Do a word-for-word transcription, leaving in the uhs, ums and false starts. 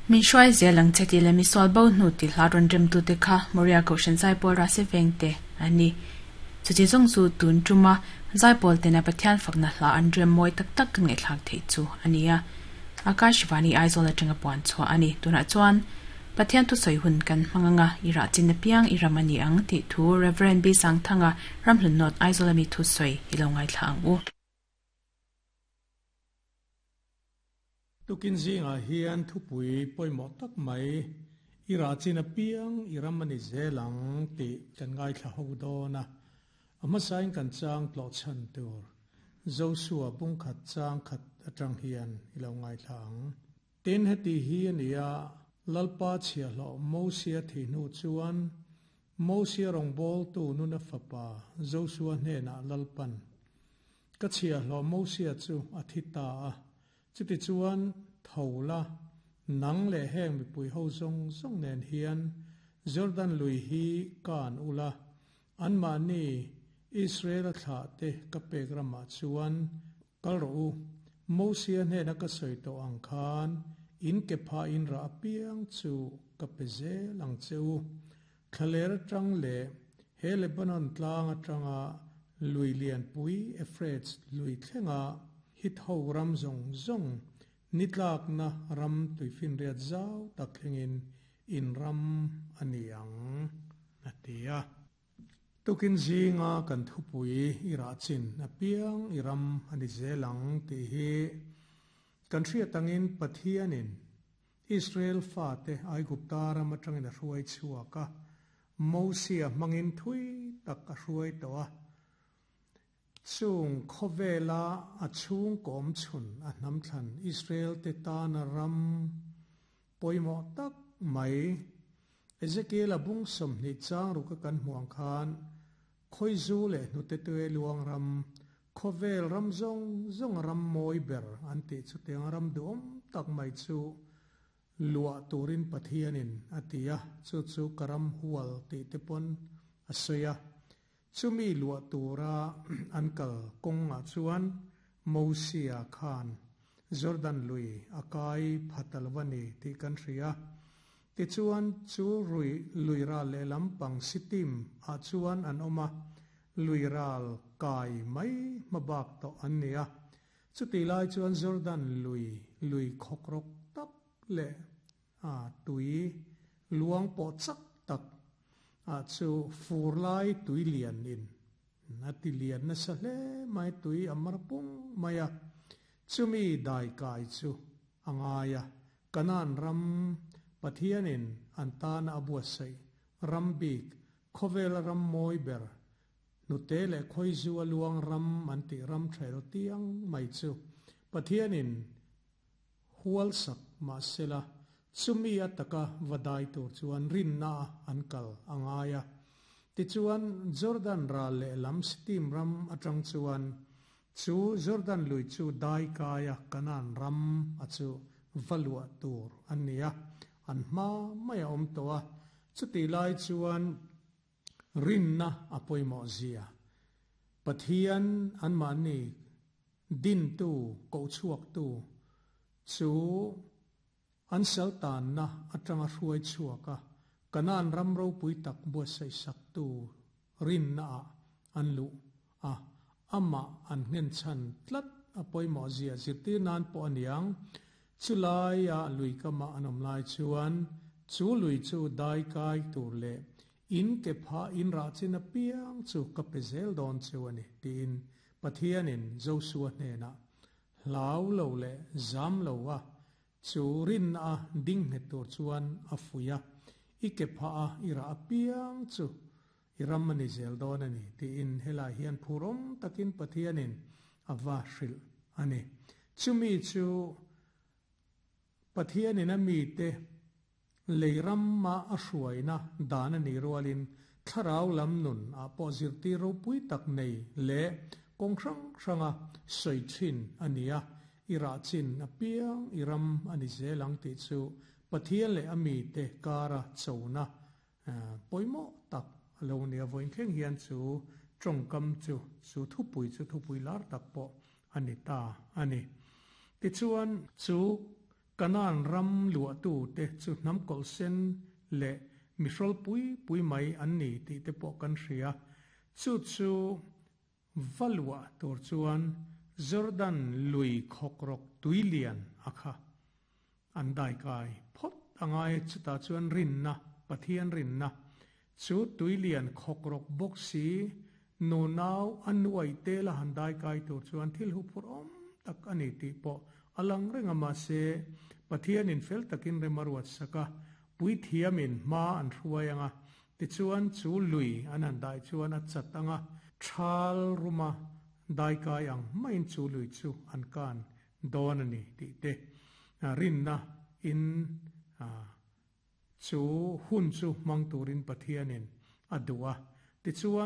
Min hruai zel ang che tih leh misual bo hnu tih hla rawn remtute kha Moria Kohhran Zaipawl Rasi Vengte an ni. Chuti zawng chu tun tuma Zaipawl tena Pathian fakna hla an rem mawi tak tak kan ngaihthlak theih chu a ni a. Akashvani Aizawl atanga puan chhuah a ni. Tunah chuan Pathian thusawi hun kan hmang anga i rah chin apiang i ram a ni ang tih thu Rev. B. Sangthanga Ramhlun North Aizawl ami thusawi i lo ngaithla ang u. Tukin zingah hian thupui pawimawh tak mai i rah chin apiang i ram a ni zel ang tih kan ngaithla ho dawn a. A hmasain kan chang tlawh chhan tur Joshua bungkhat chang khat atang hian i lo ngaithla ang. Tin, heti hi a ni a, Lalpa chhiahhlawh Mosia thih hnu chuan Mosia rawngbawltu nuna fapa Joshua hnenah Lalpan, Ka chhiahhlawh Mosia chu a thi ta a, chutichuan tho la, nang leh heng mipui ho zawng zawng nen hian Jordan lui hi kan ula, Anmahni Israel-a thlahte ka pek ramah chuan kal rawh u, Mosia hnena ka sawi tawh ang khan in ke phah in rah apiang chu ka pe zel ang che u. Thlaler atang leh he Lebanon tlang atanga lui lianpui Efrates lui thlenga Hitho ram zawng zawng ni tlakna ram tuifinriat zau tak thlengin in ram a ni ang, a ti a. Tukin zinga kan thupui i rah chin apiang i ram a ni zel ang tih hi kan hriat angin Pathianin Israel fate Aigupta ram atangin a hruai chhuak a, Mosia hmangin thui tak a hruai tawh a. Chung khawvela a chhungkawm chhun a hnamthlan Israel te tana ram pawimawh tak mai Ezekiel-a bung sawmhnih chang ruka kan hmuh ang khan Khawizu leh Hnutetue luang ram, khawvel ram zawng zawng ram mawi ber an tih chutiang ram duhawm tak mai chu luah turin Pathianin a ti a, chu chu ka ram hual tih te pawn a sawi a. Chumi luah tura an kal kawngah chuan Mosia khan Jordan lui a kai pha ta lo a ni tih kan hria. Tichuan, chu rui lui ral lehlam pang Sittim ah chuan an awm a, lui ral kai mai hma bak tawh an ni a. Chutih lai chuan Jordan lui lui khawkrawk tak leh a tui luang pawh chak tak ah chu fur lai tui lian in a ti lian nasa hle mai, tui a mar pung mai a. Chumi dai kai chu a ngai a, Kanaan ram Pathianin an tana a buatsaih ram bik, khawvela ram mawi ber, hnute leh khawizu a luang ram an tih ram thailo tiang mai chu Pathianin hualsak mahsela chumi a taka va dai tur chuan rinna an kal a ngai a. Tichuan, Jordan ral lehlam Sittim ram atang chuan chu Jordan lui chu dai kaia Kanaan ram a chu va luah tur an ni a, an hma mai a awm tawh a, chutih lai chuan rinna a pawimawh zia. Pathian anmahni dintu, kohchhuaktu chu an saltanna atanga hruai chhuak a, Kanaan ram ropui tak buatsaihsaktu rinnaah an luh a, amah an nghenchhan tlat a pawimawh zia zirtir nan pawh a niang. Chulaia lui kama an awm lai chuan chu lui chu dai kai tur leh in ke phah in rah chin apiang chu ka pe zel dawn cheu a ni tiin Pathianin Joshua hnenah hlau lo leh zam lo a chu rinna a ding nghet tur chuan a fuih a, i ke phah a i rah apiang chu i ram a ni zel dawn a ni tiin helai hian phurawm takin Pathianin a va hrilh a ni. Chumi chu Pathianin a mite lei rama a hruaina dan a nih rualin thlarau lam nun ah pawh zirtir ropui tak nei leh kawng hrang hranga sawi thin a ni a, i rah chin apiang i ram a ni zel ang tih chu Pathian leh a mite kara chona pawimawh tak a lo ni a. Vawiin thleng hian chu tawngkam chu chu thupui chu thupui lar tak pawh a ni ta a ni. Tichuan, chu Kanan ram lua tu te chu nam kol sen le misrol pui pui mai an ni ti te pawh kan hria chu chu valwa tur chuan Jordan lui khokrok tuilian akha an dai kai phot angai chuta chuan rinna Pathian rinna chu tuilian khokrok bawk si nu nau an nuai te la han dai kai tur chuan thil hu phur om tak ani ti pawh alang renga ma se Pathian in fel takin remaruat saka pui thiamin ma an hruai anga ti chuan chu lui an han dai chuan a chat anga thal ruma dai kai ang main chu lui chu an kan don ani ti te rinna in chu hun chu mang turin Pathianin adua ti chuan